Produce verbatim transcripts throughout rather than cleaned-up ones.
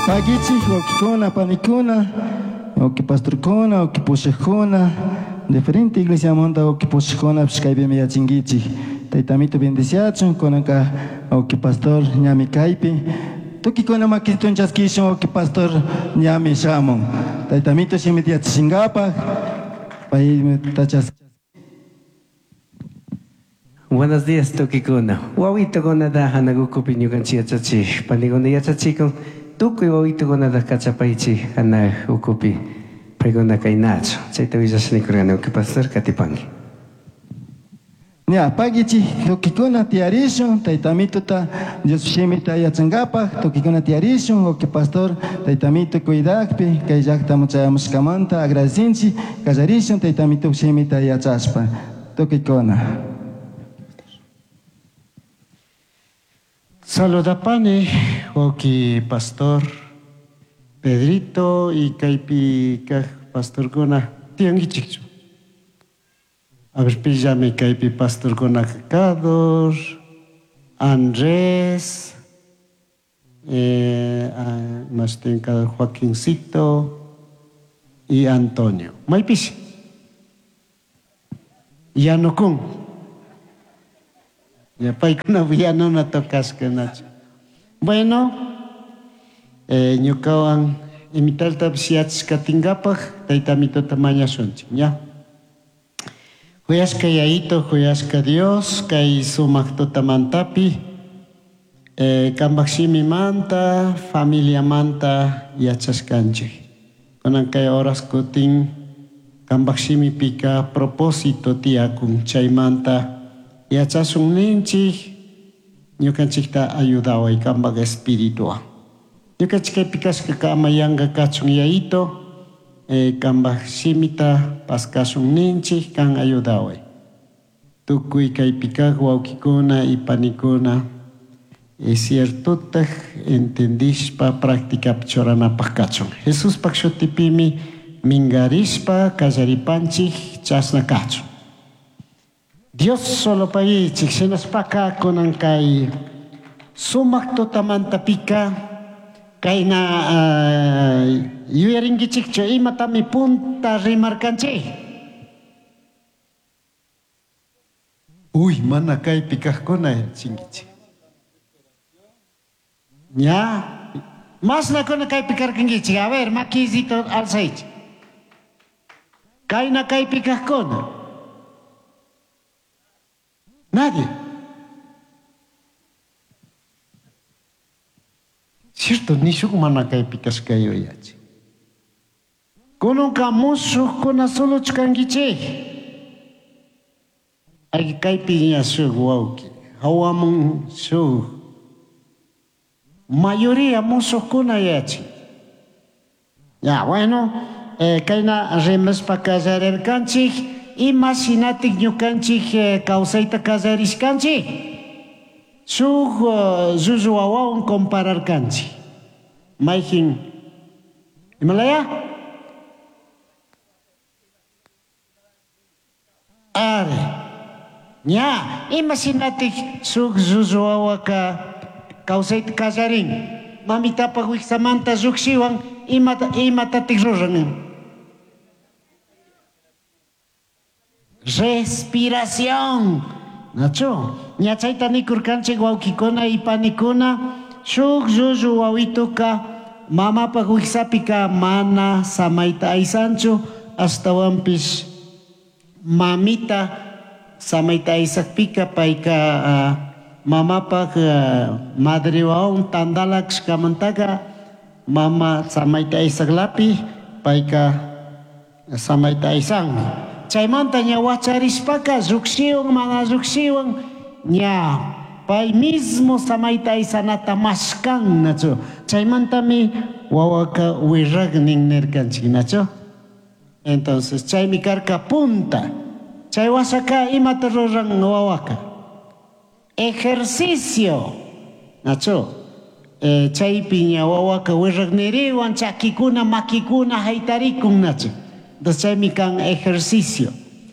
Pagichik, wawkikuna, panikuna, wawki pastorkuna, wawki pushakuna, diferente iglesiamanta wawki pushakkunapish kaypimi yachinkichik. Tayta Amito bendiciachun, kunanka wawki pastor ñami kaypi. Tukikuna makitun chaskishun wawki pastor ñami shamun. Tayta Amito shimita yachachinkapak, payta chas Buenos días, tukikuna. Wawitukunata hanakukupi ñukanchik yachachik. Panikuna yachachikun. Tukuy wawitukunata kachapaychik hanaq ukupi. Paykuna kaynachu. Chayta willashnikurqani wawki pastor katipanki. Ña, pagichik, tukikuna tiyarishun, Tayta Amituta Dios shimita yachankapak, tukikuna tiyarishun, wawki pastor Tayta Amito cuidakpi, kay llaktaman chayamushkamanta agradecinchik, kallarishun Tayta Amito shimita yachashpa. Tukikuna. Saludapani, wawki pastor Pedrito y kaypi kaj pastorkuna tiyankichikchu. A ver, pillami kaypi pastorkuna Kador, Andrés, eh, ah, más tiyan Joaquincito y Antonio. Maypish. Yanukun. Ya paykuna yanuna tocashka nachu. Bueno, eh, ñukawan imitaltapish yachashkatinkapak Tayta Amitota mañashunchik, ña. Huyashka Yayito, huyashka Dios, kay sumak tutamantapi, eh, kanpak shimimanta, familiamanta yachashkanchik. Kunan kay horas kutin kanpak shimipika propósito tiyakun, chaymanta yachashun ninchik, ñukanchikta ayudaway kanpak espirituwan. Ñukanchik kaypi kashkaka ama yanka kachun Yayito, eh, kanpak shimita paskashun ninchik, kan ayudaway. Tukuy kaypi kaq wawkikuna y panikuna, es ciertotaj entendishpa práctica churanapaq kachun. Jesuspak shutipimi mingarishpa kallaripanchik chashna kachun. Dios solo pagichik, shinashpaka kunan kay sumak tutamantapika kayna, uh, yuyarinkichikchu imatami punta rimarkanchik. Uy, mana kaypi kaqkuna chinkichik. Ña, masnakuna kaypi karkankichik. A ver, makisito alzaychik. Kayna kaypi kaqkuna. Nadie. Cierto, ni shuk mana kaypi kashkayo yachi. Kununka mushukkuna suluchu kankichik. Ay, kaypi ña shuk wawki, hawamun shuk. Mayoría mushukkuna yachi. Ya, bueno, eh, kayna rimashpa kallarirkanchik, ima shinatik ñukanchik, eh, kawsayta kallarishkanchik. Shuk, eh, llullu wawawan compararkanchik. Mayjin, imalaya? Are. Ña, ima shinatik shuk llullu wawaka kawsayta kallarin. Mamitapak wiksamanta llukshiwan, imata, imatatik ruran? Respiración. Nacho, ña chayta nikurkanchik wawkikuna y panikuna, shuk llullu wawituka mamapak wiksapika mana samayta aysanchu, ashtawanpish mamita samayta aysakpika payka, ah, mamapak, ah, madre wawan tandalakshkamantaka mama samayta aysaklapi payka samayta aysanmi. Chaymanta ña wacharishpaka llukshiwan mana llukshiwan ña pay mismo samayta aysanata mashkan, nachu. Chaymantami wawaka wirragnin nirkanchik, nachu. Entonces chaymi karka punta. Chay wasaka imata ruran wawaka? Ejercicio, nachu. Eh, chaypi ña wawaka wirragniriwan chakikuna makikuna haytarikun, nachu. Entonces chaymi kan ejercicio.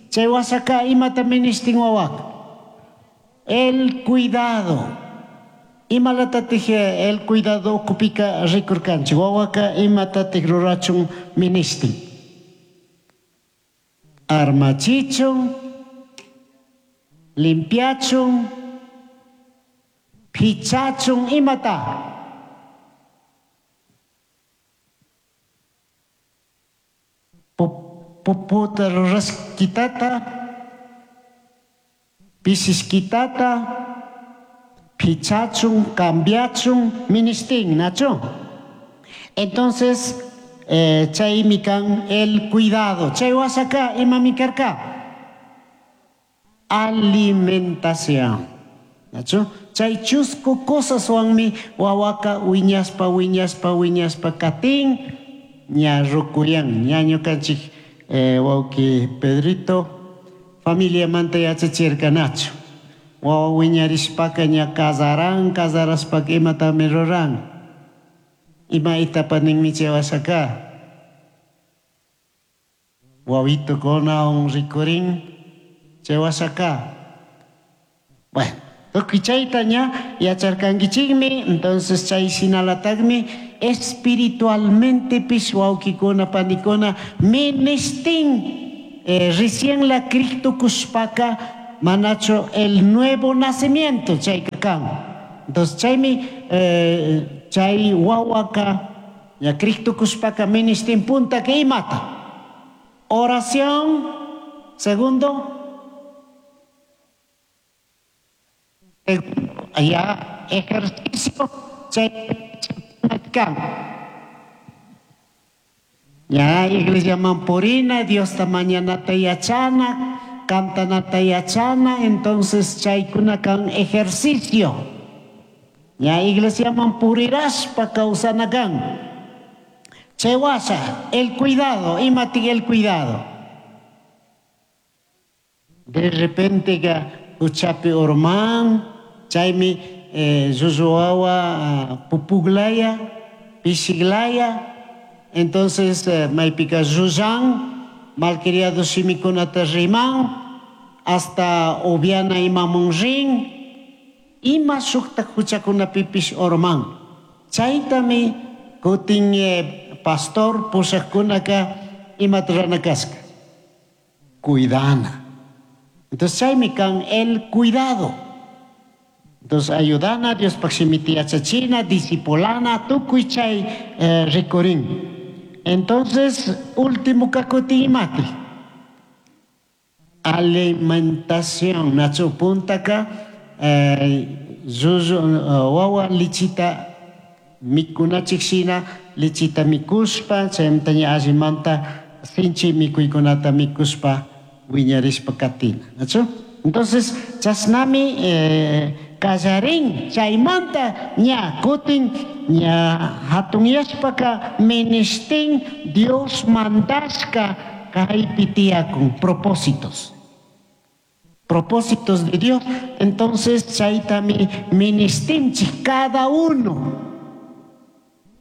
Chay wasaka imata ministin wawaka? El cuidado. Imalatatik el cuidado ukupika rikurkanchik, wawaka imatatik rurachun ministin. Armachichun, limpiachun, pichachun, imata. Puputa ruraskitata, pisiskitata, pichachun, cambiachun, ministin, nacho. Entonces, eh, chaymi kan el cuidado. Chay wasaka, imami karka. Alimentación. Nacho. Chay chusco cosas wanmi wawaka wiñaspa, wiñaspa, wiñaspa katin, ña rukuyan, ñaño kanchik, eh, wawki Pedrito, familia manta yachachirka nacho. Wawa wiñarishpaka ña kasaran, kasaraspaka imatami ruran. Ima itapa ninmi chay wasaka. Wawito kona un rikurin chay wasaka. Bueno, tukuy chayta ña yacharkankichikmi, entonces chay shinalatagmi espiritualmente pish wawkikuna panikuna ministin, eh, recién la Cristo kushpaka manacho el nuevo nacimiento chayka kan. Entonces chaymi, eh, chay wawaka ya Cristo kushpaka ministin punta que imata. Oración, segundo, ya ejercicio chay kan. Ya iglesia mampurina, Dios ta mañana ta yachana, cantanata yachana, entonces chaykuna kan ejercicio. Ya iglesia mampuriraspa causana kan. Chewasa, el cuidado, imati el cuidado. De repente ga uchapi orman, chaymi, eh, zuzuawa, pupuglaya, pisiglaya, entonces, eh, maipika zuzan, malcriado shimikunata riman, hasta obiana imamunrin, ima shukta huchakuna pipish orman. Chaytami kutin, eh, pastor pushakkunaka imata kaska. Cuidana. Entonces chaymi kan el cuidado. Entonces ayudana, Dios pakshimiti yachachina, discipulana, tukuy chay, eh, rikurin. Entonces, último kakuti imati. Alimentación. Nacho puntaka, eh, zuzu, eh, wawa lichita mikunachikshina, lichita mikuspa, chaymantaña allimanta sinchi mikuykunata mikuspa wiñarishpa katina. Nacho? Entonces, chasnami, eh, kallarin, chaymanta ña kutin ña hatunyashpaka ministin Dios mandashka kaypi tiyakun propósitos. Propósitos de Dios. Entonces, chaytami ministinchik cada uno.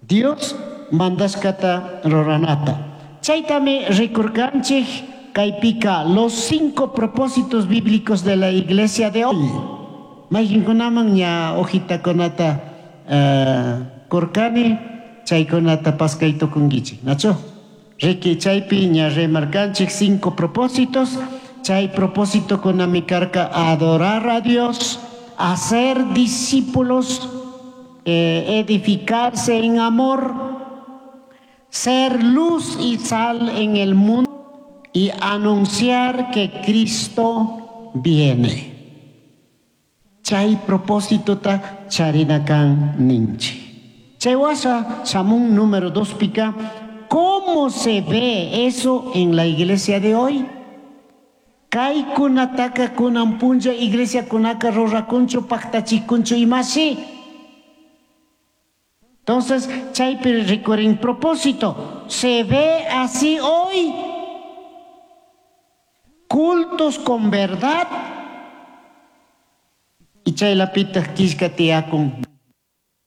Dios mandashkata ruranata. Chaytami rikurkanchik kaypika los cinco propósitos bíblicos de la iglesia de hoy. Mayqinkunaman ña hojitakunata, eh, kurkani, chaykunata paskay tukunkichik, nacho? Riki chaypi ña remarkanchik cinco propósitos. Chay propósito kunami karka adorar a Dios, hacer discípulos, eh, edificarse en amor, ser luz y sal en el mundo y anunciar que Cristo viene. Chay propósito ta charinakan ninchi. Chay wasa, samun número dos pica, ¿cómo se ve eso en la iglesia de hoy? Kay kunataka kunan punlla iglesia kunaka rurakunchu paktachikunchu imasi. Entonces, chaypi rikurin propósito. Se ve así hoy. Cultos con verdad. Y chay lapita kishka tiyakun.